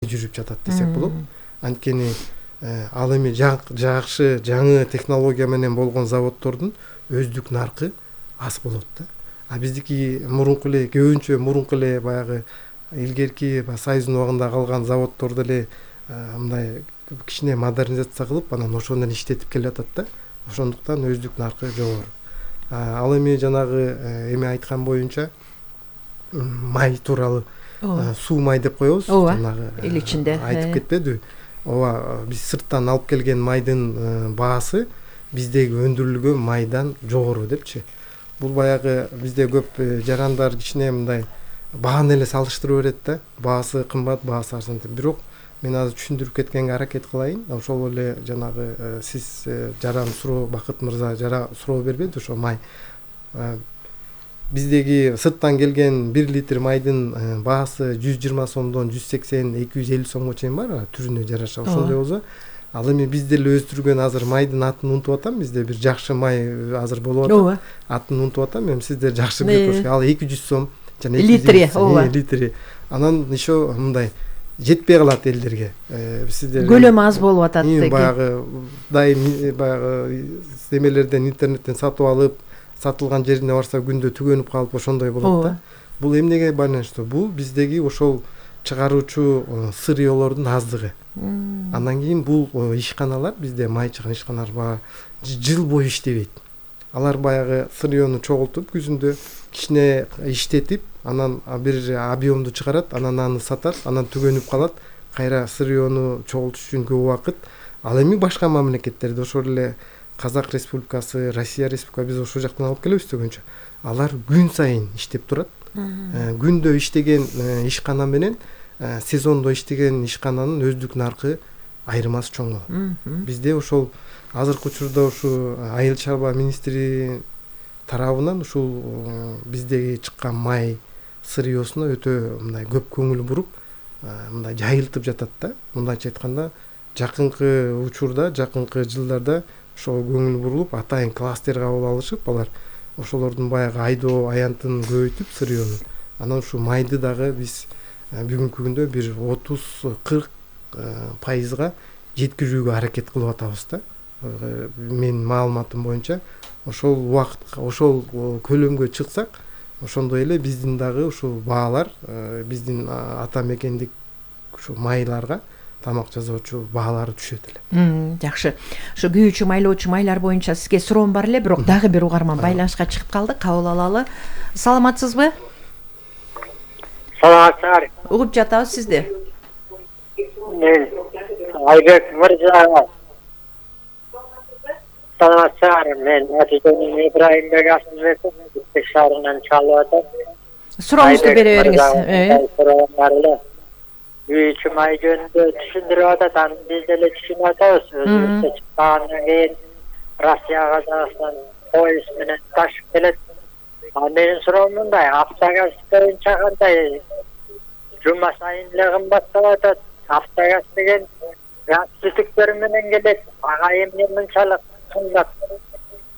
жүрүп жатат десек болот. Анткени ал эми жакшы жаңы технология менен болгон заводдордун өздүк наркы аз болот да. А биздики мурунку эле көбүнчө мурунку эле баягы илгерки Союздун убагында калган заводдор деле мындай кичине модернизация кылып анан ошону иштетип келатат да. Ошондуктан өздүк наркы жогору. Ал эми жанагы эми айткан боюнча май тууралуу суу май деп коебуз. Жанагы эл ичинде айтып кетпедиби? Ооба, биз сырттан алып келген майдын баасы биздеги өндүрүлгөн майдан жогору депчи. Бул баягы бизде көп жарандар кичине мындай бааны эле салыштырып берет да. Баасы кымбат, баасы арзан деп. Бирок мен азыр түшүндүрүп кеткенге аракет кылайын. Ошол эле жанагы сиз жаран суроо, Бакыт мырза суроо бербеди ошо май. Биздеги сырттан келген 1 литр майдын баасы 120 сомдон 180-250 сомго чейин бар, түрүнө жараша. Ошондой болсо, ал эми биз деле өстүргөн азыр майдын атын унутуп атам, бизде бир жакшы май азыр болуп атат. Атын унутуп атам, эми сиздер жакшы билип турсуңар. Ал 200 сом жана 200 литри. Анан еще мындай жетпей калат элдерге. Сиздер көлөмү аз болуп атат. Баягы баягы эмелерден интернеттен сатып алып, сатылган жерине барса күндө түгөнүп калып ошондой болот да. Бул эмнеге байланыштуу? Бул биздеги ошол чыгаруучу сырьёлордун аздыгы. Андан кийин бул ишканалар, бизде май чыган ишканалар жыл бою иштебейт. Алар баягы сырьёну чогултуп, күзүндө кичине иштетип, анан бир объемду чыгарат, анан аны сатат, анан түгөнүп калат. Кайра сырьёну чогултуш үчүн көп убакыт. Ал эми башка мамлекеттерде ошол эле Казак Республикасы, Россия Республикасы, биз ошол жактан алып келебиз дегенче. Алар күн сайын иштеп турат. Күндө иштеген ишкана менен сезондо иштеген ишкананын өздүк наркы айырмасы чоң болот. Бизде ошол азыркы учурда ушу Айыл чарба министри тарабынан ушул биздеги чыккан май сырьёсуна өтө мындай көп көңүл буруп, мындай жайылтып жатат да. Мындайча айтканда, жакынкы учурда, жакынкы жылдарда ошого көңүл бурулуп, атайын кластер кабыл алышып, алар ошолордун баягы айдоо аянтын көбөйтүп сырьёну. Анан ушу майды дагы биз бүгүнкү күндө бир 30-40% жеткирүүгө аракет кылып атабыз да. Менин маалыматым боюнча, ошол убакытка, ошол көлөмгө чыксак, ошондой эле биздин дагы ушул баалар, биздин ата мекендик ушу майларга, тамак жасоочу баалары түшөт эле. Жакшы. Ушу күйүүчү, майлоочу майлар боюнча сизге суроом бар эле, бирок дагы бир угарман байланышка чыгып калды, кабыл алалы. Саламатсызбы? Саламатсыздар. Угуп жатабыз сизди. Мен Айбек мырза. Саламатсыздар. Мен Атитонун Ибраимбек Асылбеков, Бишкек шаарынан чалып атам. Сурооңузду бере бериңиз. Күйүүчү май жөнүндө түшүндүрүп атат, аны биз деле түшүнүп атабыз. Өзүбүздө чыккандан кийин Россия, Казакстан поезд менен ташып келет. Менин суроом мындай, автогаз боюнча кандай? Жума сайын эле кымбаттап атат. Автогаз деген газ түтүктөр менен келет. Ага эмне мынчалык кымбат?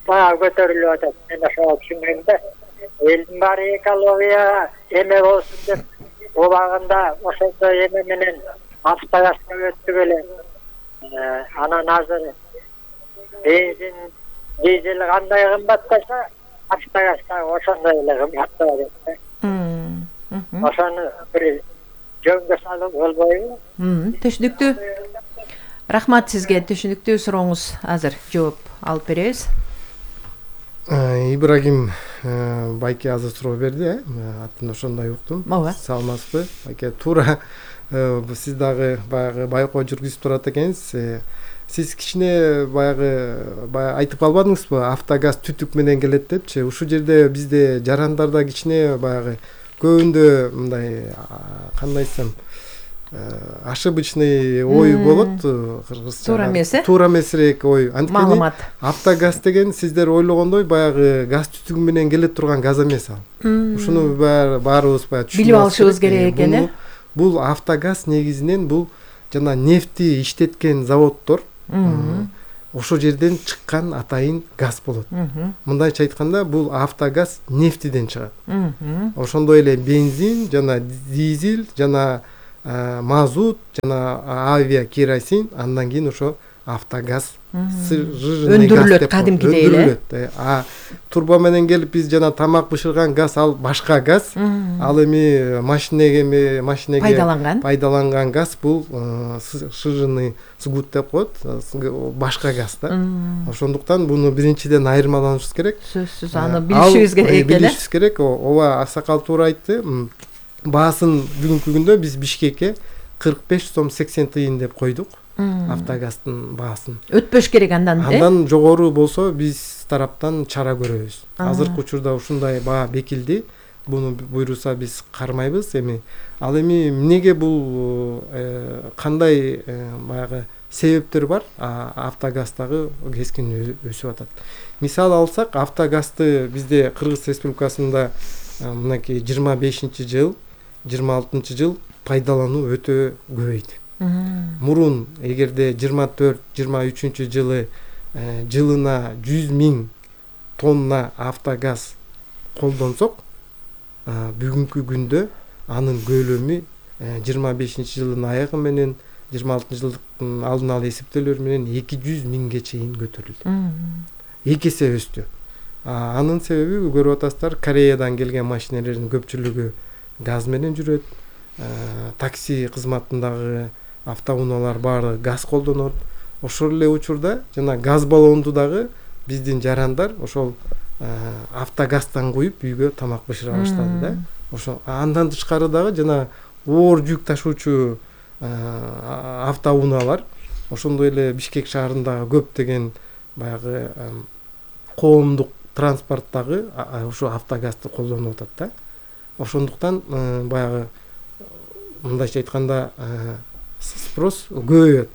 Баа көтөрүлүп атат. Мен ошого түшүнбөйм да. Элдин баары экология эме болсун деп убагында ошондой эме менен автогазга өттүк эле. Анан азыр бензин, дизель кандай кымбаттаса, автогаз дагы ошондой эле кымбаттап атат. Ошону бир жөнгө салып болбойбу? Түшүнүктүү. Рахмат сизге, түшүнүктүү сурооңуз. Азыр жооп алып беребиз. Ибрагим байке азыр суроо берди, атын ошондой уктум. Саламатсызбы? Байке, туура сиз дагы баягы байкоо жүргүзүп турат экенсиз. Сиз кичине баягы айтып калбадыңызбы? Автогаз түтүк менен келет депчи. Ушул жерде бизде жарандарда кичине баягы көбүндө мындай кандай десем, ошибочный ой болот, кыргызча. Туура эмес, Туура эмесирээк ой. Маалымат. Автогаз деген сиздер ойлогондой баягы газ түтүгү менен келе турган газ эмес ал. Ушуну баарыбыз баягы түшүнүп билип алышыбыз керек экен, э? Бул автогаз негизинен бул жана нефти иштеткен заводдор. Ошол жерден чыккан атайын газ болот. Мындайча айтканда, бул автогаз нефтиден чыгат. Ошондой эле бензин жана дизель жана мазут жана авиакеросин, андан кийин ошо автогаз өндүрүлөт кадимкидей эле. Турба менен келип биз жана тамак бышырган газ, ал башка газ. Ал эми машинеге пайдаланган газ, бул сжженный сгут деп коет, башка газ да. Ошондуктан буну биринчиден айырмаланышыбыз керек. Сөзсүз аны билишибиз керек эле. Билишибиз керек. Ооба, аксакал туура айтты. Баасын бүгүнкү күндө биз Бишкекке 45 сом 80 тыйын деп койдук. Автогаздын баасын өтпөш керек андан жогору болсо биз тараптан чара көрөбүз. Азыркы учурда ушундай баа бекилди. Буну буйруса биз кармайбыз. Ал эми эмнеге бул кандай баягы себептер бар? Автогаздагы кескин өсүп атат. Мисал алсак, автогазды бизде Кыргыз Республикасында мынакей 25-жыл, 26-жыл пайдалануу өтө көбөйдү. Мурун эгерде 24-23 жылы жылына 100 000 тонна автогаз колдонсок, бүгүнкү күндө анын көлөмү 25-жылдын аягы менен 26-жылдын алдын ала эсептөөлөр менен 200 000ге чейин көтөрүлдү. 2 эсе өстү. Анын себеби көрүп атасыздар, Кореядан келген машинелердин көпчүлүгү газ менен жүрөт. Такси кызматындагы автоунаалар баары газ колдонот. Ошол эле учурда жана газ баллонду дагы биздин жарандар ошол автогаздан куюп үйгө тамак бышыра баштады да. Ошо андан тышкары дагы жана оор жүк ташуучу автоунаалар, ошондой эле Бишкек шаарындагы көптөгөн баягы коомдук транспорттагы ошо автогазды колдонуп атат да. Ошондуктан баягы мындайча айтканда спрос көбөйөт.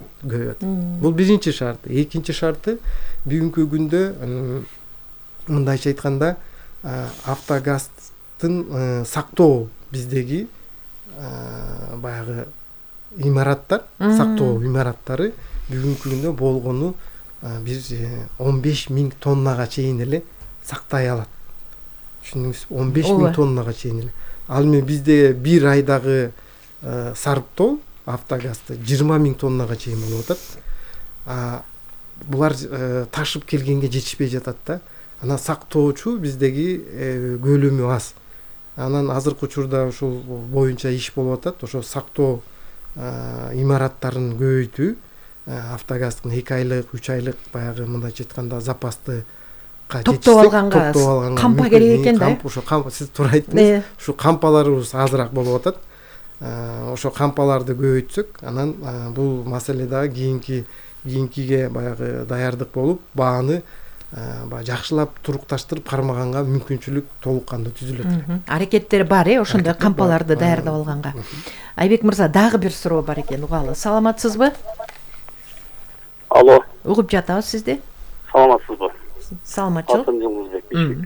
Бул биринчи шарты. Экинчи шарты, бүгүнкү күндө мындайча айтканда автогаздын сактоо биздеги баягы имараттар, сактоо имараттары бүгүнкү күндө болгону биз 15 000 тоннага чейин эле сактай алат. Түшүндүңүзбү? 15 000 тоннага чейин эле. Ал эми бизде бир айдагы сарптоо автогазды 20 000 тоннага чейин болуп атат. Булар ташып келгенге жетишпей жатат да. Анан сактоочу биздеги көлөмү аз. Анан азыркы учурда ушул боюнча иш болуп атат. Ошо сактоо имараттарын көбөйтүү, автогаздын 2 айлык, 3 айлык баягы мындайча айтканда запасты топтоп алганга кампа керек экен да. Ошо кампа, сиз туура айттыңыз. Ушу кампаларыбыз азыраак болуп атат. Ошо кампаларды көбөйтсөк, анан бул маселе дагы кийинкиге баягы даярдык болуп, бааны жакшылап турукташтырып кармаганга мүмкүнчүлүк толук кандуу түзүлөт. Аракеттер бар, ошондой кампаларды даярдап алганга. Айбек мырза, дагы бир суроо бар экен, угалы. Саламатсызбы? Алло. Угуп жатабыз сизди. Саламатсызбы? Саламатчылык.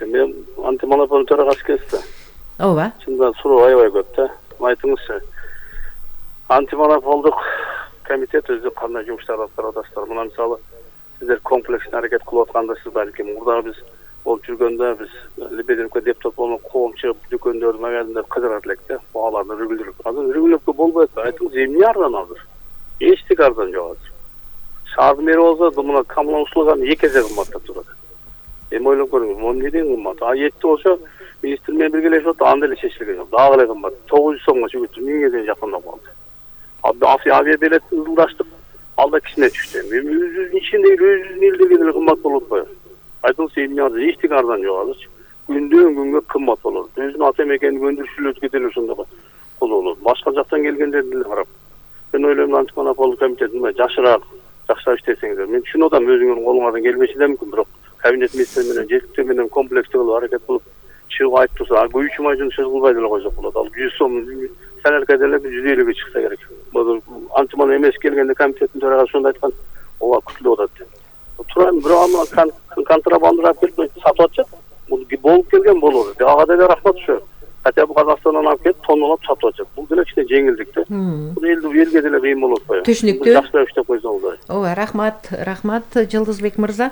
Мен антимонополия төрагасы экенсиз. Ооба. Чында суроо аябай көп да. Айтыңызчы, антимонополдук комитет өзү кандай жумуштар аткарып атасыздар? Мына мисалы сиздер комплекстик аракет кылып атканда, сиз балким мурдагы биз болуп жүргөндө биз Лебедевке депутат болгон коом чыгып дүкөндөрдү магазиндерди кыдырат элек да, бааларды регулировать. Азыр регулировка болбой атпайбы? Айтыңыз, эмне арзан азыр? Эчтеке арзан жок азыр. Шаардын мэри болсо мына коммуналдык услуганы 2 эсе кымбаттап турат. Эми ойлоп көрүңүз, могу эмнеден кымбат? Этти болсо министр менен биргелешип атып, анда эле чечилген жок. Дагы эле кымбат. 900 сомго чыгып 1000ге чейин жакындап калды. Авиабилет ылдаштык, алда кичине түштү. Эми өзүбүздүн ичиндеги өзүбүздүн элдеги деле кымбат болуп атпайбы? Айтыңыз, эмне арзан? Эчтеке арзан жок азырчы. Күндөн күнгө кымбат болот. Өзүнүн ата мекенин өндүрүүчүлөргө деле ошондой болот. Башка жактан келгендерди деле карап. Мен ойлойм, антимонополдук комитет жакшыраак иштесеңиздер. Мен түшүнүп атам, өзүңөрдүн колуңардан келбеши да мүмкүн, бирок кабинет министри менен жетиктер менен комплекстүү кылып аракет кылып чыгып айтып турса, көйүүчү майжын сөз кылбай деле койсок болот. Ал 100 сом саналка деле 150ге чыкса керек. Антимон эмес келгенде комитеттин төрагасы ошондой айткан, ооба күтүлүп атат. Турайм, бирок аны контрабандалап келип сатып атышат. Бул болуп келген болот. Ага деле рахмат ошо. Хотя бы Казакстандан алып келип, тонналап сатып атышат. Бул деле кичине жеңилдик да. Бул элди элге деле кыйын болуп атпайбы? Түшүнүктүү. Жакшылап иштеп койсо болду. Ооба, рахмат Жылдызбек мырза.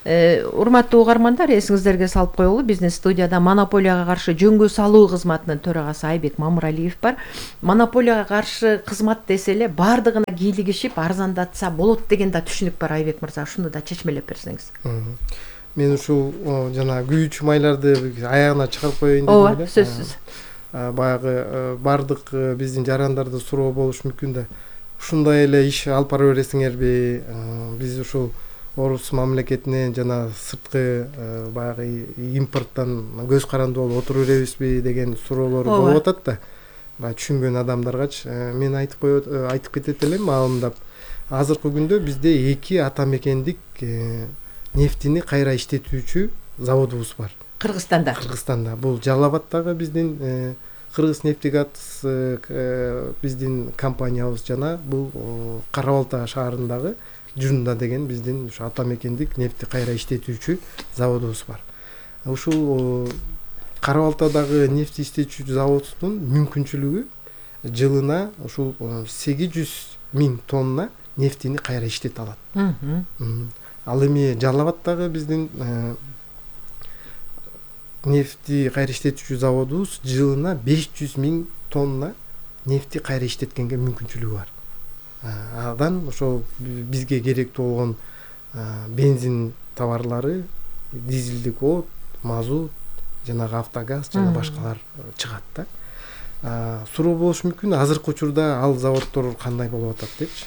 Урматтуу угармандар, эсиңиздерге салып коелу, биздин студияда монополияга каршы жөнгө салуу кызматынын төрагасы Айбек Мамыралиев бар. Монополияга каршы кызмат десе эле бардыгына кийлигишип арзандатса болот деген да түшүнүк бар. Айбек мырза, ушуну да чечмелеп берсеңиз. Мен ушул жана күйүүчү майларды аягына чыгарып коеюн дедим. Ооба, сөзсүз. Баягы бардык биздин жарандарда суроо болушу мүмкүн да. Ушундай эле иш алып бара бересиңерби? Биз ушул орус мамлекетинен жана сырткы баягы импорттон көз каранды болуп отура беребизби деген суроолор болуп атат да. Баягы түшүнгөн адамдаргачы мен айтып кетет элем маалымдап. Азыркы күндө бізде 2 ата мекендик нефтини кайра иштетүүчү заводубуз бар. Кыргызстанда. Бул Жалал-Абадтагы биздин Кыргызнефтегаз биздин компаниябыз жана бул Кара Балта шаарындагы Жунда деген биздин ушу ата мекендик нефти кайра иштетүүчү заводубуз бар. Ушул Кара Балтадагы нефти иштетүүчү заводдун мүмкүнчүлүгү жылына ушул 800.000 тонна нефтини кайра иштете алат. Ал эми Жалал-Абадтагы биздин нефти кайра иштетүүчү заводубуз жылына 500.000 тонна нефти кайра иштеткенге мүмкүнчүлүгү бар. Адан ошол бизге керектүү болгон бензин товарлары, дизелдик от, мазут, жанагы автогаз жана башкалар чыгат да. Суроо болушу мүмкүн, азыркы учурда ал заводдор кандай болуп атат депчи.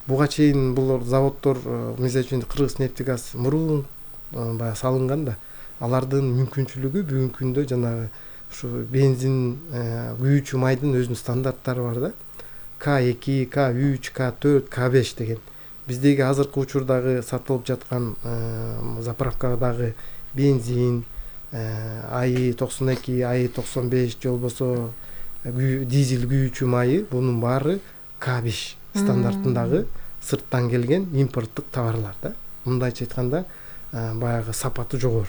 Буга чейин бул заводдор мисалы үчүн Кыргызнефтегаз мурун баягы салынган да. Алардын мүмкүнчүлүгү бүгүнкү күндө жанагы ушу бензин күйүүчү майдын өзүнүн стандарттары бар да. К2, К3, К4, К5 деген. Биздеги азыркы учурдагы сатылып жаткан заправкадагы бензин, АИ-92, АИ-95 же болбосо дизель күйүүчү майы, бунун баары К5 стандартындагы сырттан келген импорттук товарлар да. Мындайча айтканда баягы сапаты жогору.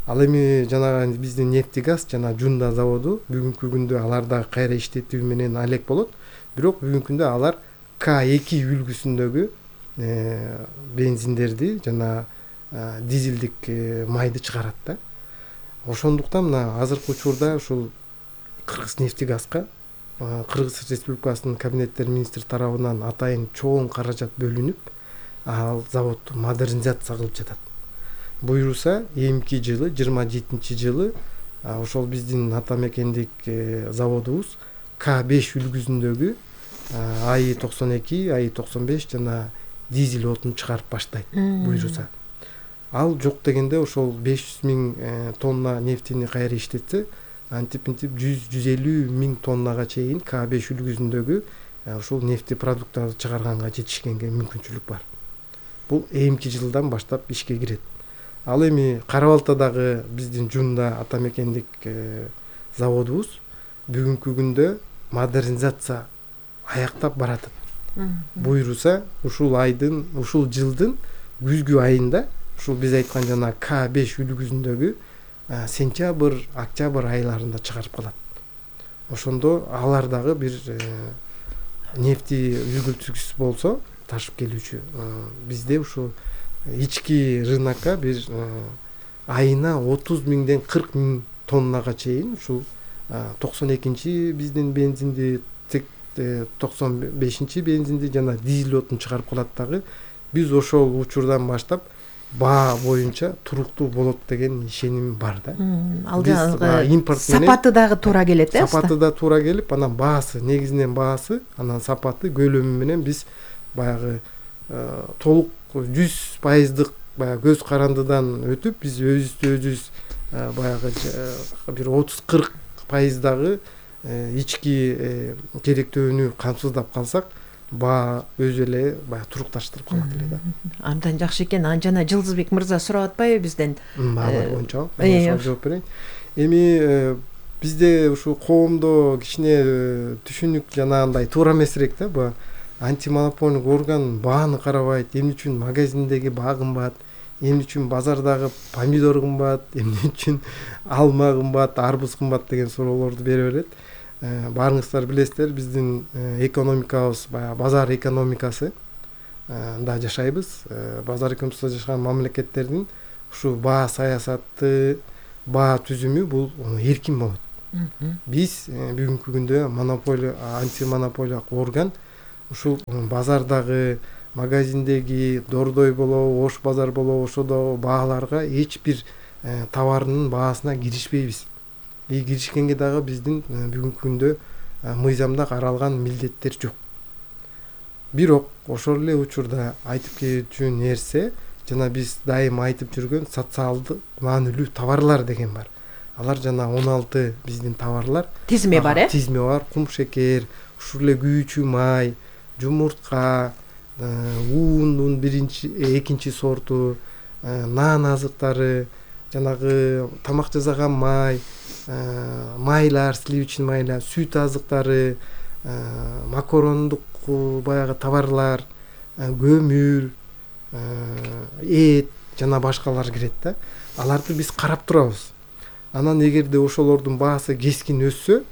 Ал эми жанагы биздин нефтегаз жана Жунда заводу бүгүнкү күндө аларда кайра иштетүү менен алек болот. Бирок бүгүнкү күндө алар К2 үлгүсүндөгү бензиндерди жана дизелдик майды чыгарат да. Ошондуктан мына азыркы учурда ушул Кыргызнефтегазга Кыргыз Республикасынын кабинеттер министри тарабынан атайын чоң каражат бөлүнүп, ал заводду модернизация кылып жатат. Буйруса, эмки жылы 27-жылы ошол биздин ата мекендик заводубуз К5 үлгүсүндөгү АИ-92, АИ-95 жана дизель отун чыгарып баштайт буйруса. Ал жок дегенде ошол 500.000 тонна нефтини кайра иштетсе, антип-интип 100-150.000 тоннага чейин К5 үлгүсүндөгү ушул нефти продукттарды чыгарганга жетишкенге мүмкүнчүлүк бар. Бул эмки жылдан баштап ишке кирет. Ал эми Кара Балтадагы биздин Жунда ата мекендик заводубуз бүгүнкү күндө модернизация аяктап баратат. Буйруса ушул жылдын күзгү айында ушул биз айткан жана К5 үлгүсүндөгү сентябрь, октябрь айларында чыгарып калат. Ошондо алар дагы бир нефти үлгүлтүкүс болсо ташып келүүчү. Бизде ушул ички рынокко бир айына 30.000ден 40.000 тоннага чейин ушул 92-чи биздин бензинди, 95-чи бензинди жана дизель отун чыгарып калат дагы. Биз ошол учурдан баштап баа боюнча туруктуу болот деген ишеним бар да. Ал жанагы сапаты дагы туура келет, сапаты да туура келип, анан баасы, негизинен баасы, анан сапаты, көлөмү менен биз баягы толук 100%дык баягы көз карандыдан өтүп, биз өзүбүз баягы бир 30-40% дагы ички керектөөнү камсыздап калсак, баа өзү эле баягы турукташтырып калат эле да. Андан жакшы экен. Жана Жылдызбек мырза сурап атпайбы бизден? Баалар боюнча мен ошого жооп берейин. Эми бизде ушу коомдо кичине түшүнүк жанагындай туура эмесирээк да. Бу антимонополдук орган бааны карабайт. Эмне үчүн магазиндеги баа кымбат, эмне үчүн базардагы помидор кымбат, эмне үчүн алма кымбат, арбуз кымбат деген суроолорду бере берет. баарыңыздар билесиздер, биздин экономикабыз баягы базар экономикасы да жашайбыз. Базар экономикасында жашаган мамлекеттердин ушу баа саясаты, баа түзүмү бул эркин болот. Биз бүгүнкү күндө монополия, антимонополиялык орган ушул базардагы, магазиндеги, дордой болобу, ош базар болобу, ошодо бааларга эч бир товарынын баасына киришпейбиз. Киришкенге дагы биздин бүгүнкү күндө мыйзамда каралган милдеттер жок. Бирок ошол эле учурда айтып кетүүчү нерсе, жана биз дайым айтып жүргөн социалдык маанилүү товарлар деген бар. Алар жана 16 биздин товарлар тизими бар, тизими бар. Кум шекер, ушул эле күйүүчү май, жумуртка, уундун экинчи сорту, нан азыктары, жанагы тамак жасаган май, майлар, сливочный майлар, сүт азыктары, макарондук баягы товарлар, көмүр, эт жана башкалар кирет да. Аларды биз карап турабыз. Анан эгерде ошолордун баасы кескин өссө,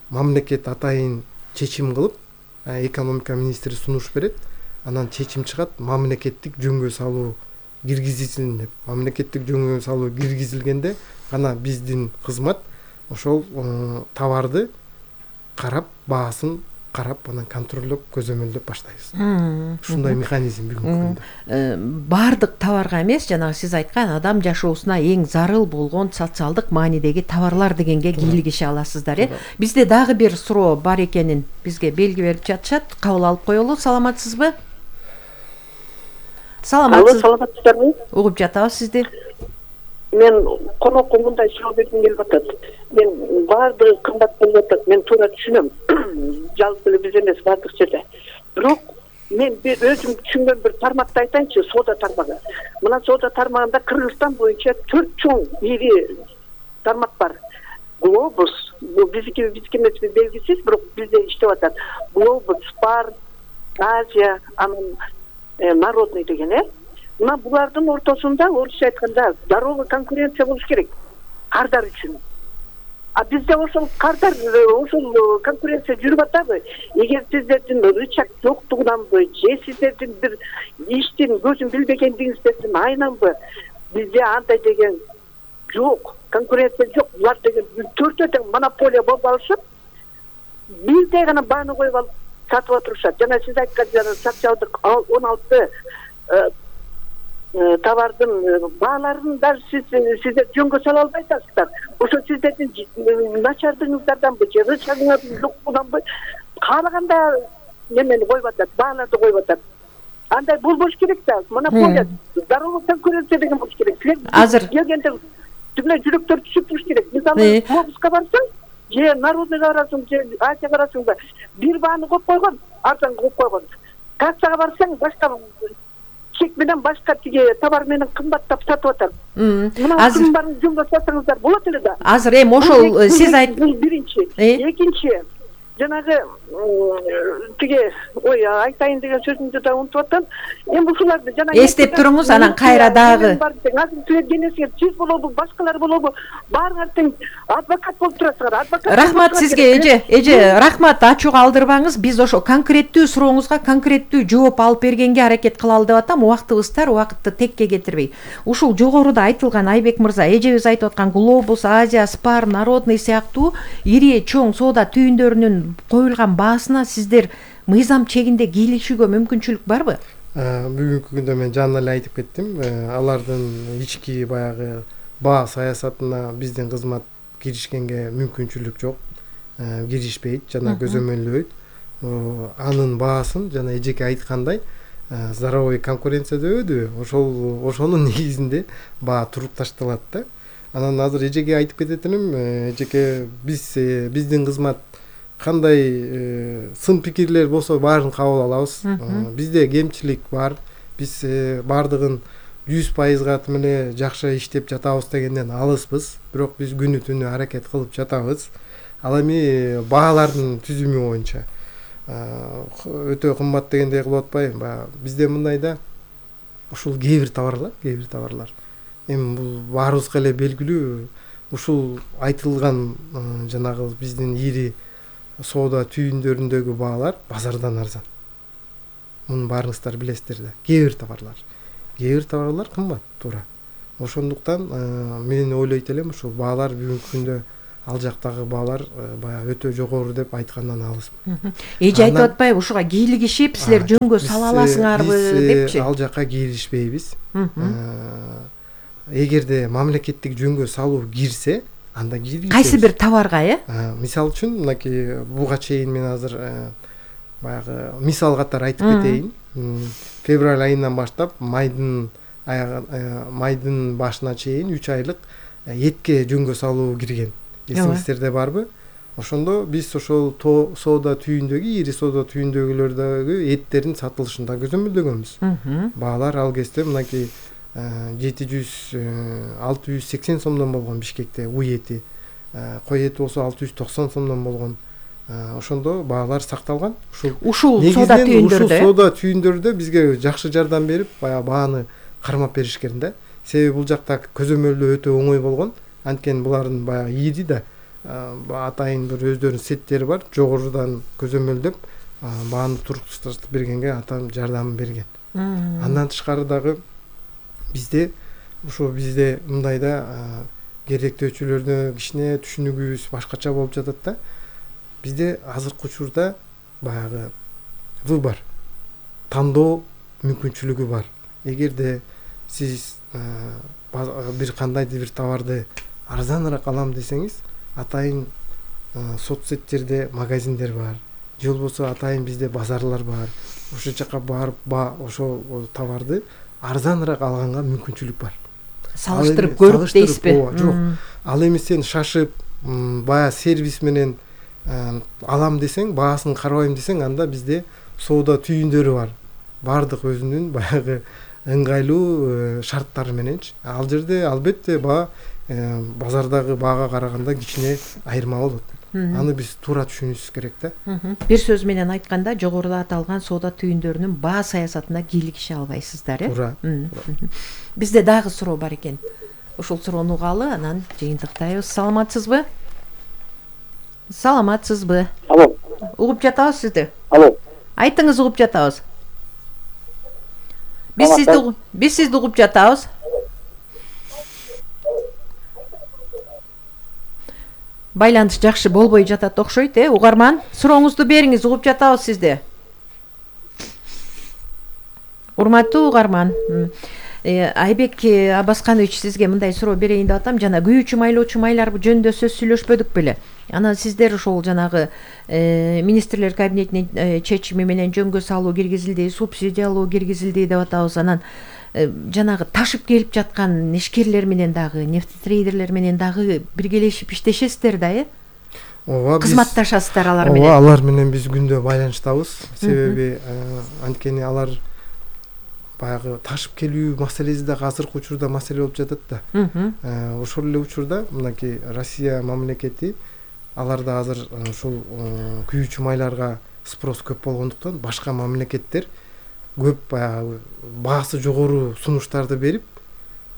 мамлекет атайын чечим кылып, экономика министри сунуш берет. Анан чечим чыгат, мамлекеттик жөнгө салуу киргизилсин деп. Мамлекеттик жөнгө салуу киргизилгенде гана биздин кызмат ошол товарды карап, баасын карап, анан контролдоп, көзөмөлдөп баштайбыз. Ушундай механизм бүгүнкү күндө. Баардык товарга эмес, жанагы сиз айткан адам жашоосуна эң зарыл болгон социалдык маанидеги товарлар дегенге кийлигише аласыздар, Бизде дагы бир суроо бар экенин бизге белги берип жатышат. Кабыл алып коелу. Саламатсызбы? Саламатсыздарбы? Угуп жатабыз сизди. Мен конокко мындай суроо бергим келип атат. Мен баардыгы кымбат болуп атат. Мен туура түшүнөм. Жалпы эле биз эмес, баардык жерде. Бирок мен өзүм түшүнгөн бир тармакты айтайынчы, соода тармагы. Мына соода тармагында Кыргызстан боюнча 4 чоң ири тармак бар. Глобус, бул биздики эмес белгисиз, бирок бизде иштеп атат. Глобус, Спар, Азия, анан Народный деген, Мына булардын ортосунда, орусча айтканда, здоровый конкуренция болуш керек кардар үчүн. А бизде ошол кардар, ошол конкуренция жүрүп атабы? Эгер сиздердин рычаг жоктугунанбы, же сиздердин бир иштин көзүн билбегендигиңиздердин айнанбы, бизде андай деген жок, конкуренция жок. Булар деген төртөө тең монополия болуп алышып, бирдей гана бааны коюп алып сатып отурушат. Жана сиз айткан социалдык 16 товардын бааларын даже сиздер жөнгө сала албайсыздар. Ошо сиздердин начардыгыңыздарданбы, же рычагыңыздын жоктугунанбы, каалаганда немени коюп атат, бааларды коюп атат. Андай болбош керек да. Монополия, здоровый конкуренция деген болуш керек. Азыр келгенде түгүлө жүрөктөр түшүп туруш керек. Мисалы, Глобуска барсаң, же Народныйга барасың, же Азияга барасың да, бир бааны коюп койгон, арзан коюп койгон. Кассага барсаң, башка чек менен башка тиги товар менен кымбаттап сатып атат. Азыр баарын жөнгө сатсаңыздар болот эле да. Азыр ошол сиз бул биринчи. Экинчи, жанагы тиги айтайын деген сөзүмдү да унутуп атам. Эми ушуларды жана эстеп туруңуз, анан кайра дагы. Азыр силер сиз болобу, башкалар болобу, баарыңар тең адвокат болуп турасыңар. Адвокат. Рахмат сизге, эже, рахмат, ачууга алдырбаңыз. Биз ошо конкреттүү сурооңузга конкреттүү жооп алып бергенге аракет кылалы деп атам. Убактыбыз тар, убакытты текке кетирбей. Ушул жогоруда айтылган Айбек мырза, эжебиз айтып аткан Глобус, Азия, Спар, Народный сыяктуу ири чоң соода түйүндөрүнүн коюлган баасына сиздер мыйзам чегинде кийлишүүгө мүмкүнчүлүк барбы? Бүгүнкү күндө мен жана эле айтып кеттим. Алардын ички баягы баа саясатына биздин кызмат киришкенге мүмкүнчүлүк жок. Киришпейт жана көзөмөлдөйт. Анын баасын жана эжеке айткандай здоровый конкуренция дебедиби? Ошонун негизинде баа туруп ташталат да. Анан азыр эжеке айтып кетет элем, эжеке биздин кызмат кандай сын пикирлер болсо баарын кабыл алабыз. Бизде кемчилик бар. Биз баардыгын 100%га тим эле жакшы иштеп жатабыз дегенден алыспыз. Бирок биз күнү түнү аракет кылып жатабыз. Ал эми баалардын түзүмү боюнча өтө кымбат дегендей кылып атпайбы? Бизде мындай да, ушул кээ бир товарлар. Эми бул баарыбызга эле белгилүү. Ушул айтылган жанагы биздин ири соода түйүндөрүндөгү баалар базардан арзан. Муну баарыңыздар билесиздер да. Кээ бир товарлар кымбат туура. Ошондуктан мен ойлойт элем ушул баалар бүгүнкү күндө ал жактагы баалар баягы өтө жогору деп айткандан алысмын. Эже айтып атпайбы ушуга кийлигишип силер жөнгө сала аласыңарбы депчи? Ал жакка кийлигишпейбиз. Эгерде мамлекеттик жөнгө салуу кирсе, анда кийлигишебиз. Кайсы бир товарга, Мисалы үчүн мынакей буга чейин мен азыр баягы мисал катары айтып кетейин. Февраль айынан баштап майдын башына чейин 3 айлык этке жөнгө салуу кирген. Эсиңиздерде барбы? Ошондо биз ошол соода түйүндөгү, ири соода түйүндөгүлөрдөгү эттердин сатылышында көзөмөлдөгөнбүз. Баалар ал кезде мынакей 680 сомдон болгон Бишкекте уй эти, кой эти болсо 690 сомдон болгон. Ошондо баалар сакталган. Ушул соода түйүндөрдө. Соода түйүндөрдө бизге жакшы жардам берип, бааны кармап беришкен да. Себеби бул жакта көзөмөлдөө өтө оңой болгон. Анткени булардын баягы ири да атайын бир өздөрүнүн сеттери бар. Жогорудан көзөмөлдөп бааны туруктуштырып бергенге атам жардам берген. Андан тышкары дагы бизде мындай да керектөөчүлөрдө кичине түшүнүгүбүз башкача болуп жатат да. Бизде азыркы учурда баягы выбор, тандоо мүмкүнчүлүгү бар. Эгерде сиз бир кандайдыр бир товарды арзаныраак алам десеңиз, атайын соцсеттерде магазиндер бар. Же болбосо атайын бизде базарлар бар. Ошол жака барып ошол товарды арзаныраак алганга мүмкүнчүлүк бар. Салыштырып көрүп дейсизби? Жок. Ал эми сен шашып, баягы сервис менен алам десең, баасын карабайм десең, анда бизде соода түйүндөрү бар. Бардык өзүнүн баягы ыңгайлуу шарттары мененчи. Ал жерде албетте баа базардагы баага караганда кичине айырма болот. Аны биз туура түшүнүшүбүз керек да. Бир сөз менен айтканда, жогоруда аталган соода түйүндөрүнүн баа саясатына кийлигише албайсыздар, Туура. Бизде дагы суроо бар экен. Ушул суроону угалы, анан жыйынтыктайбыз. Саламатсызбы? Алло. Угуп жатабыз сизди. Алло. Айтыңыз, угуп жатабыз. Биз сизди угуп жатабыз. Байланыш жакшы болбой жатат окшойт, угарман. Сурооңузду бериңиз, угуп жатабыз сизди. Урматтуу угарман, Айбек Абасканович, сизге мындай суроо берейин деп атам. Жана күйүүчү майлоочу майлар жөнүндө сөз сүйлөшпөдүк беле? Анан сиздер ошол жанагы министрлер кабинетинин чечими менен жөнгө салуу киргизилди, субсидиялоо киргизилди деп атабыз. Анан жанагы ташып келип жаткан ишкерлер менен дагы, нефтетрейдерлер менен дагы биргелешип иштешесиздер да, Ооба, кызматташасыздар алар менен. Ооба, алар менен биз күндө байланыштабыз. Себеби анткени алар баягы ташып келүү маселеси дагы азыркы учурда маселе болуп жатат да. Ошол эле учурда мынакей Россия мамлекети аларда азыр ушул күйүүчү майларга спрос көп болгондуктан башка мамлекеттер көп баягы баасы жогору сунуштарды берип,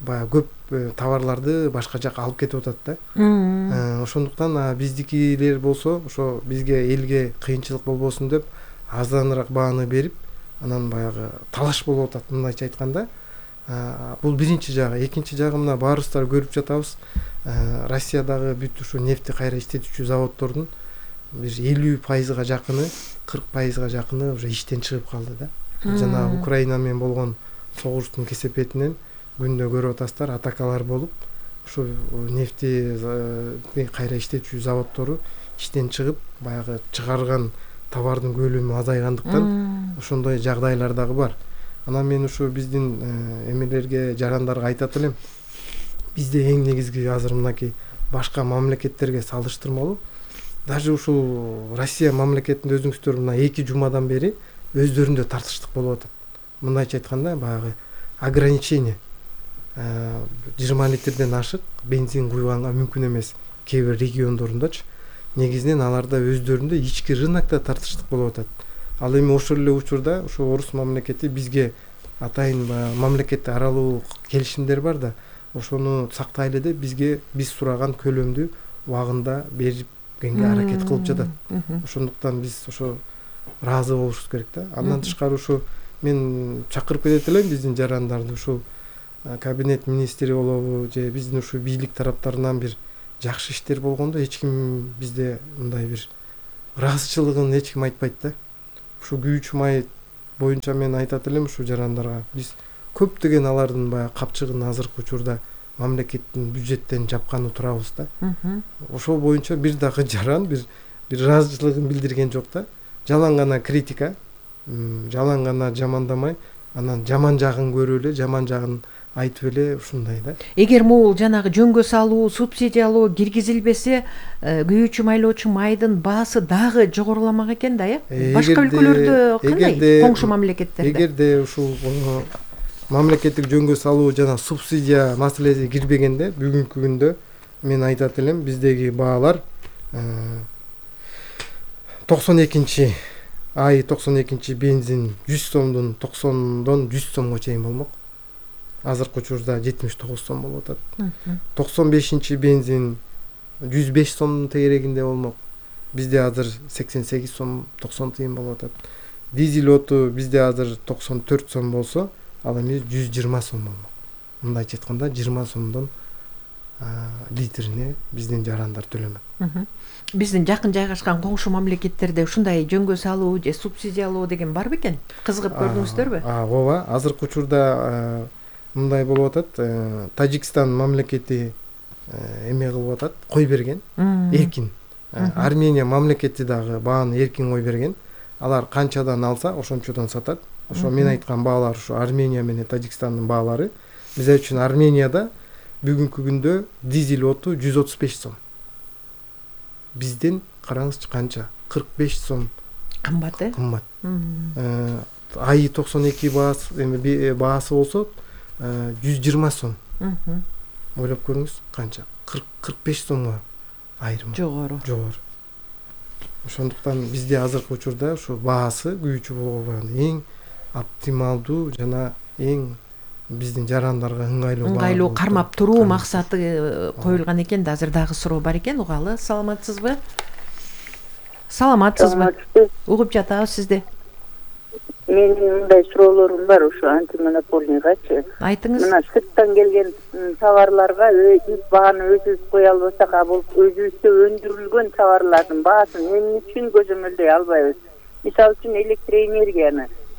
баягы көп товарларды башка жака алып кетип атат да. Ошондуктан биздикилер болсо, ошо бизге элге кыйынчылык болбосун деп арзаныраак бааны берип, анан баягы талаш болуп атат, мындайча айтканда. Бул биринчи жагы. Экинчи жагы мына баарыбыздар көрүп жатабыз. Россиядагы бүт ушу нефти кайра иштетүүчү заводдордун бир 50%га жакыны, 40%га жакыны уже иштен чыгып калды да. Жана Украина менен болгон согуштун кесепетинен күндө көрүп атасыздар, атакалар болуп, ушу нефти кайра иштетүүчү заводдору иштен чыгып, баягы чыгарган товардын көлөмү азайгандыктан ошондой жагдайлар дагы бар. Анан мен ушу биздин эмелерге, жарандарга айтат элем. Бизде эң негизги азыр мынакей башка мамлекеттерге салыштырмалуу, даже ушул Россия мамлекетинде өзүңүздөр мына 2 жумадан бери өздөрүндө тартыштык болуп атат. Мындайча айтканда, баягы ограничение 20 литрден ашык бензин куйганга мүмкүн эмес кээ бир региондорундачы. Негизинен аларда өздөрүндө ички рынокто тартыштык болуп атат. Ал эми ошол эле учурда ошо орус мамлекети бизге атайын мамлекетти аралуу келишимдер бар да, ошону сактайлы деп биз сураган көлөмдү убагында берип кеңге аракет кылып жатат. Ошондуктан биз ошо ыраазы болушубуз керек да. Андан тышкары ушу мен чакырып кетет элем биздин жарандарды, ушул кабинет министри болобу же биздин ушу бийлик тараптарынан бир жакшы иштер болгондо эч ким бизде мындай бир ыраазычылыгын эч ким айтпайт да. Ушу күйүүчү май боюнча мен айтат элем ушу жарандарга, биз көптөгөн алардын баягы капчыгын азыркы учурда мамлекеттин бюджеттен жапканы турабыз да. Ошол боюнча бир дагы жаран бир ыраазычылыгын билдирген жок да. Жалаң гана критика, жалаң гана жамандамай, анан жаман жагын көрүп эле, жаман жагын айтып эле ушундай да. Эгер могул жанагы жөнгө салуу, субсидиялоо киргизилбесе, күйүүчү майлоочу майдын баасы дагы жогоруламак экен да, башка өлкөлөрдө кандай, коңшу мамлекеттерде? Эгерде ушул мамлекеттик жөнгө салуу жана субсидия маселеси кирбегенде, бүгүнкү күндө мен айтат элем, биздеги баалар 92 ай 92 бензин 100 сомдон 90дон 100 сомго чейин болмок. Азыркы учурда 79 сом болуп атат. 95 бензин 105 сомдун тегерегинде болмок. Бизде азыр 88 сом 90 тыйын болуп атат. Дизель оту бизде азыр 94 сом болсо, ал эми 120 сом болмок. Мындайча айтканда 20 сомдон литрине биздин жарандар төлөмөк. Биздин жакын жайгашкан коңшу мамлекеттерде ушундай жөнгө салуу же субсидиялоо деген бар бекен? Кызыгып көрдүңүздөрбү? Ооба, азыркы учурда мындай болуп атат. Тажикстан мамлекети эме кылып атат, кой берген, эркин. Армения мамлекети дагы бааны эркин кой берген. Алар канчадан алса, ошончодон сатат. Ошо мен айткан баалар ушу Армения менен Тажикстандын баалары. Биз үчүн Арменияда бүгүнкү күндө дизель оту 135 сом. Бизден караңызчы канча? 45 сом. Кымбат, Кымбат. Айы 92 баасы болсо 120 сом. Ойлоп көрүңүз, канча? 45 сомго айрым. Жогору. Ошондуктан бизде азыркы учурда ушу баасы күйүүчү болгон эң оптималдуу жана эң биздин жарандарга ыңгайлуу кармап туруу максаты коюлган экен да. Азыр дагы суроо бар экен, угалы. Саламатсызбы? Угуп жатабыз сизди. Менин мындай суроолорум бар ушу антимонополийгачы. Айтыңыз. Мына сырттан келген товарларга биз бааны өзүбүз кое албасак, бул өзүбүздө өндүрүлгөн товарлардын баасын эмне үчүн көзөмөлдөй албайбыз? Мисалы үчүн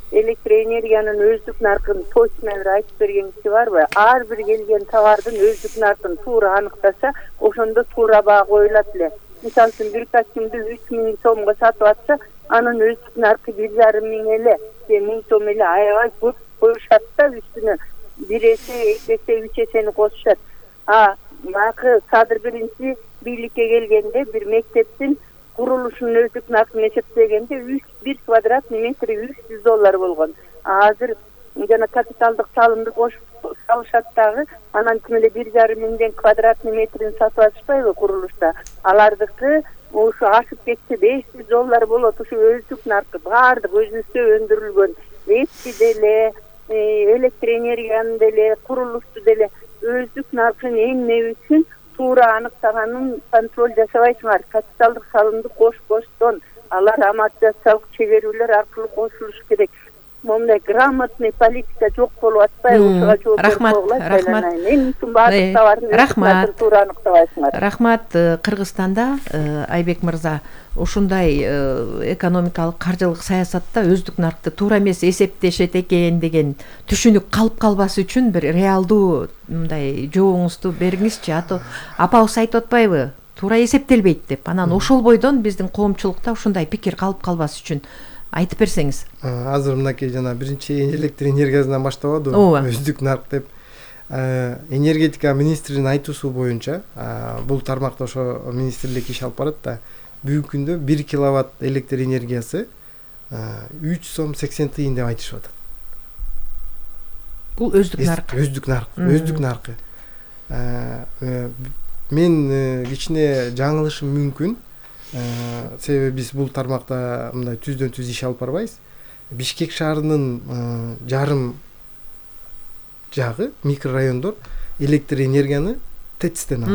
электроэнергиянын өздүк наркын точно бир айтып берген киши барбы? Ар бир келген товардын өздүк наркын туура аныктаса, ошондо туура баа коюлат эле. Мисалы үчүн бир костюмду 3000 сомго сатып атса, анын өздүк наркы 1,5 миң эле, 1000 сом эле аябай көп коюшат да, үстүнө 1 эсе, 2 эсе, 3 эсени кошушат. Макы кадр биринчи бийликке келгенде бир мектептин курулушунун өздүк наркын эсептегенде 1 квадратный метри $300 болгон. Азыр жана капиталдык салымды кошуп салышат дагы, анан ким эле 1,5 миңден квадратный метрин сатып алышпайбы курулушта? Алардыкы ушу ашып кетсе $500 болот. Ушу өздүк наркы баардык өзүбүздө өндүрүлгөн нефти деле, электроэнергияны деле, курулушту деле өздүк наркын эмне үчүн туура аныктаганын контроль жасабайсыңар? Капиталдык салымды кош-коштон алар амортизациялык чегерүүлөр аркылуу кошулуш керек. Мондай грамотный политика жок болуп атпайбы? Ушуга жооп берип Рахмат. Кыргызстанда Айбек мырза ушундай экономикалык каржылык саясатта өздүк наркты туура эмес эсептешет экен деген түшүнүк калып калбас үчүн бир реалдуу мындай жообуңузду бериңизчи. Апабыз айтып атпайбы? Туура эсептелбейт деп. Анан ошол бойдон биздин коомчулукта ушундай пикир калып калбас үчүн айтып берсеңиз. Азыр мынакей жана биринчи электроэнергиясынан баштап атабы, өздүк нарк деп. Энергетика министринин айтуусу боюнча, бул тармакта ошо министрлик иш алып барат да. Бүгүнкү күндө 1 киловатт электр энергиясы 3 сом 80 тыйын деп айтышып атат. Бул өздүк наркы. Мен кичине жаңылышым мүмкүн. Себеби биз бул тармакта мындай түздөн түз иш алып барбайбыз. Бишкек шаарынын жарым жагы микрорайондор электр энергияны ТЭЦтен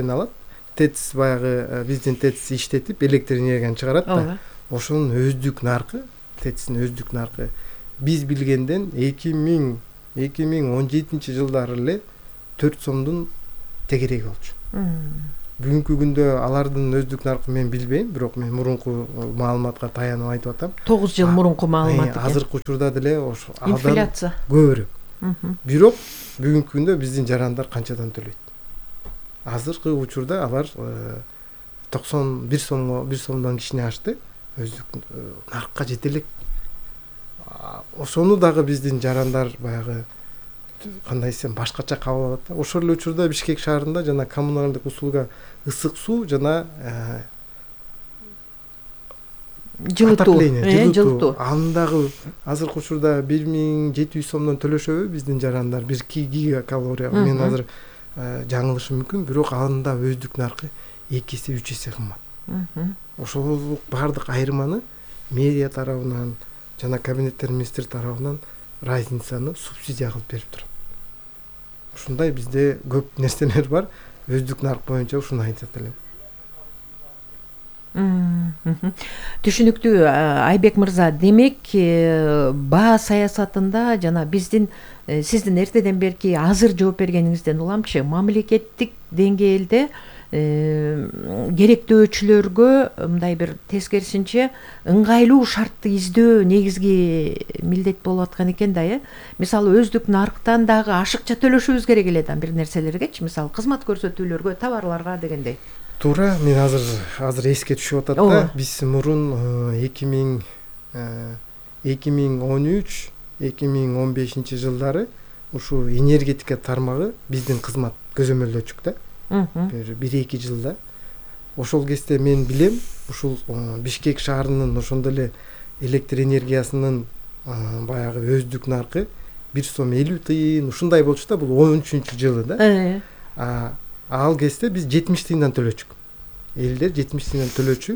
алат. ТЭЦ баягы биздин ТЭЦ иштетип электр энергияны чыгарат да. Ошонун өздүк наркы, ТЭЦтин өздүк наркы биз билгенден 2017 жылдары эле 4 сомдун тегереги болчу. Бүгүнкү күндө алардын өздүк наркы мен билбейм, бирок мен мурунку маалыматка таянып айтып атам. 9 жыл мурунку маалымат экен. Азыркы учурда деле ошо инфляция көбүрөөк. Бирок бүгүнкү күндө биздин жарандар канчадан төлөйт? Азыркы учурда алар 91 сомдон кичине ашты, өздүк наркка жете элек. Ошону дагы биздин жарандар баягы кандай десем башкача кабыл алат да. Ошол эле учурда Бишкек шаарында жана коммуналдык услуга ысык суу жана жылытуу. Андагы азыркы учурда 1700 сомдон төлөшөбү биздин жарандар 1 гигакалория. Мен азыр жаңылышым мүмкүн, бирок анда өздүк наркы 2 эсе 3 эсе кымбат. Ошол бардык айырманы мэрия тарабынан жана кабинеттер министри тарабынан разницаны субсидия кылып берип турат. Ушундай бизде көп нерселер бар. Өздүк нарк боюнча ушуну айтат элем. Түшүнүктүү Айбек мырза. Демек, баа саясатында жана биздин сиздин эртеден берки азыр жооп бергениңизден уламчы, мамлекеттик деңгээлде керектөөчүлөргө мындай бир тескерисинче ыңгайлуу шартты издөө негизги милдет болуп аткан экен да, Мисалы өздүк нарктан дагы ашыкча төлөшүбүз керек эле да бир нерселергечи, мисалы кызмат көрсөтүүлөргө, товарларга дегендей. Туура, мен азыр эске түшүп атат да. Биз мурун 2013-2015 жылдары ушу энергетика тармагы биздин кызмат көзөмөлдөчүк да. 1-2 жылда. Ошол кезде мен билем, ушул Бишкек шаарынын ошондой эле электр энергиясынын баягы өздүк наркы 1 сом 50 тыйын ушундай болчу да, бул 13 жылы да. Ал кезде биз 70 тыйындан төлөчүк. Элдер 70 тыйындан төлөчү.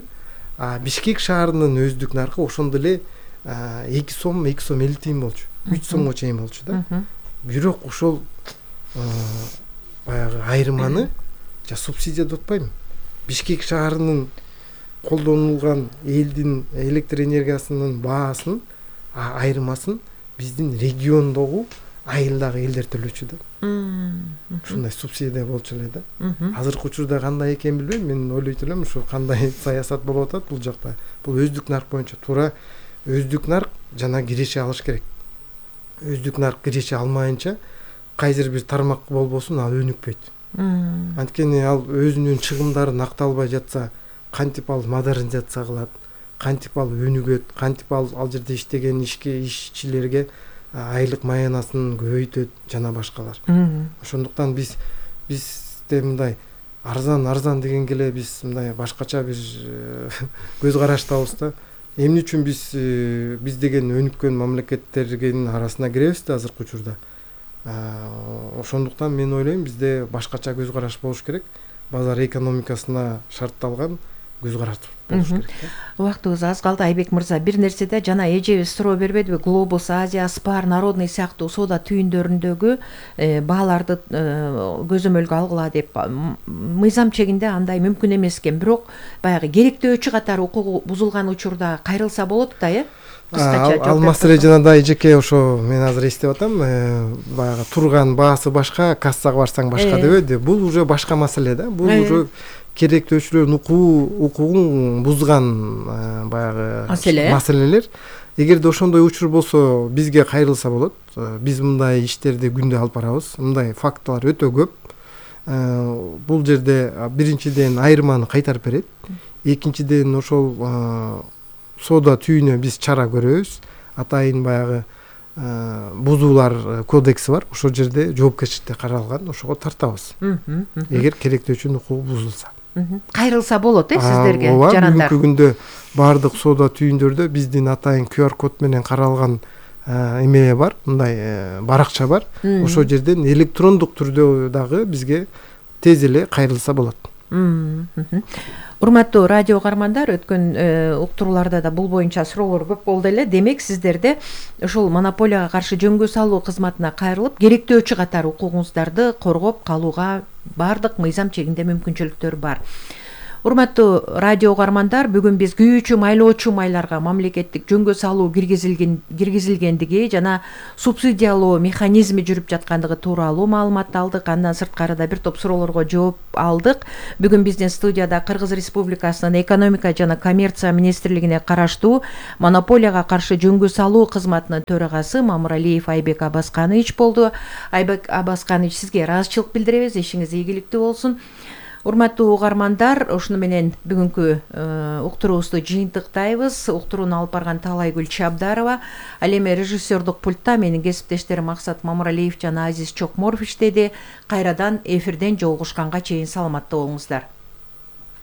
Бишкек шаарынын өздүк наркы ошондой эле 2 сом 50 тыйын болчу. 3 сомго чейин болчу да. Бирок ошол баягы айырманы субсидия деп атпайм. Бишкек шаарынын колдонулган элдин электр энергиясынын баасын, айырмасын биздин региондогу айылдагы элдер төлөчү да. Ушундай субсидия болчу эле да. Азыркы учурда кандай экенин билбейм, мен ойлойт элем ушу кандай саясат болуп атат бул жакта. Бул өздүк нарк боюнча туура өздүк нарк жана киреше алыш керек. Өздүк нарк киреше алмайынча кайсыр бир тармак болбосун ал өнүкпөйт. Анткени ал өзүнүн чыгымдарын акталбай жатса, кантип ал модернизация кылат, кантип ал өнүгөт, кантип ал жерде иштеген ишчилерге айлык маянасын көбөйтөт жана башкалар. Ошондуктан бизде мындай арзан дегенге эле биз мындай башкача бир көз караштабыз да. Эмне үчүн биз деген өнүккөн мамлекеттердин арасына киребиз да азыркы учурда. Ошондуктан мен ойлойм бизде башкача көз караш болуш керек. Базар экономикасына шартталган көз караш болуш керек. Убактыбыз аз калды, Айбек мырза. Бир нерседе жана эжебиз суроо бербедиби? Глобус, Азия, Спар, Народный сыяктуу соода түйүндөрүндөгү бааларды көзөмөлгө алгыла деп. Мыйзам чегинде андай мүмкүн эмес экен, бирок баягы керектөөчү катары укугу бузулган учурда кайрылса болот да, Ал маселе жанагындай эжеке ошо мен азыр эстеп атам, баягы турган баасы башка, кассага барсаң башка дебеди. Бул уже башка маселе да. Бул уже керектөөчүлөрдүн укугун бузган баягы маселелер. Эгерде ошондой учур болсо бизге кайрылса болот. Биз мындай иштерди күндө алып барабыз. Мындай фактылар өтө көп. Бул жерде биринчиден айырманы кайтарып берет. Экинчиден ошол соода түйүнө биз чара көрөбүз. Атайын баягы бузуулар кодекси бар. Ошол жерде жоопкерчиликте каралган, ошого тартабыз. Эгер керектөөчүнүн укугу бузулса. Кайрылса болот, сиздерге жарандар. Бүгүнкү күндө бардык соода түйүндөрдө биздин атайын QR код менен каралган эме бар, мындай баракча бар. Ошол жерден электрондук түрдө дагы бизге тез эле кайрылса болот. Урматтуу радио угармандар, өткөн уктурууларда да бул боюнча суроолор көп болду эле. Демек сиздерде ушул монополияга каршы жөнгө салуу кызматына кайрылып, керектөөчү катар укугуңуздарды коргоп калууга баардык мыйзам чегинде мүмкүнчүлүктөр бар. Урматтуу радио угармандар, бүгүн биз күйүүчү майлоочу майларга мамлекеттик жөнгө салуу киргизилгендиги жана субсидиялоо механизми жүрүп жаткандыгы тууралуу маалымат алдык. Андан сырткары да бир топ суроолорго жооп алдык. Бүгүн биздин студияда Кыргыз Республикасынын экономика жана коммерция министрлигине караштуу монополияга каршы жөнгө салуу кызматынын төрагасы Мамыралиев Айбек Абасканович болду. Айбек Абасканович, сизге ыраазычылык билдиребиз. Ишиңиз ийгиликтүү болсун. Урматтуу угармандар, ушуну менен бүгүнкү уктуруубузду жыйынтыктайбыз. Уктурууну алып барган Талайгүл Чабдарова, ал эми режиссердук пультта менин кесиптештерим Максат Мамыралиев жана Азиз Чокморов иштеди. Кайрадан эфирден жолугушканга чейин саламатта болуңуздар.